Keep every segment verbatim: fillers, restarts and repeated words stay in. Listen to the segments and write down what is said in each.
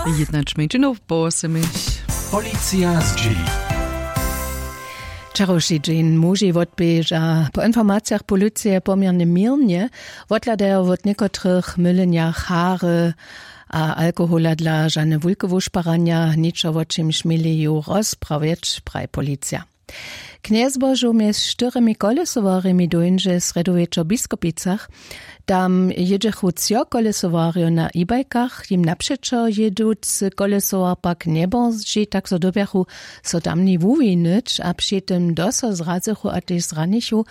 Jědnaćmjeńšinow połosymyš. Policija zdźěli. Wčerawši dźeń muži wotběža po informacijach policije poměrnje měrnje. Wothladajo wot někotrych mylenjach hary a alkohola dla žane wulke wušparanja ničo wo čimž měli ju rozprawjeć, praji policija. K njezbožu mjez štyrimi kolesowarjemi dóńdźe w srjedu wječor w biskopicach. Tam jědźechu třo kolesowarjo na e-bajkach, jim napřećo jěducy kolesowar pak njebordźi, tak zo dyrbjachu so tamni wuwinyć a při tym doso zrazychu a tež zranichu.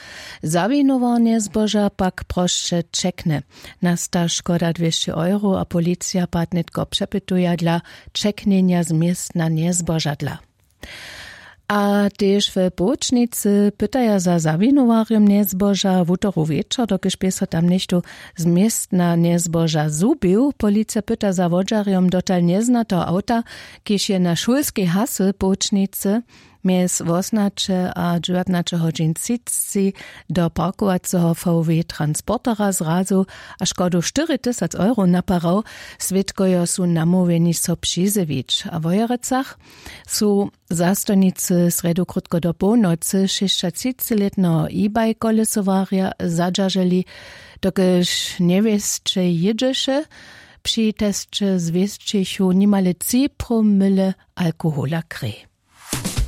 Zawinowarnje zboža pak prosće čekny. Nasta škoda dwěsći euro a policija pak nětko přepytuja dla čeknjenja z městna njezbožadla. A tež w połčnicy pytaja za zawinowarjom njezboža wutoru wječor dokelž bě so tam něchtó z městna njezboža zhubił. Policija pyta za wodźarjom dotal njeznateho awta, kiž je na šulskej hasy połčnicy mjez wosnaće a dźewjatnaće hodźin třiceći do parkowaceho vw transportera zrazył a škodu štyri tysac euro naparał. Swědkojo su namołwjeni so přizjewić a w wojerecach su zastojnicy srjedu krótko do połnocy šěsćatřicećilětneho ebay kolesowarja zadźerželi, dokelž njewěsće jědźeše. Při tesće zwěsćechu nimale tři promyle alkohola krě.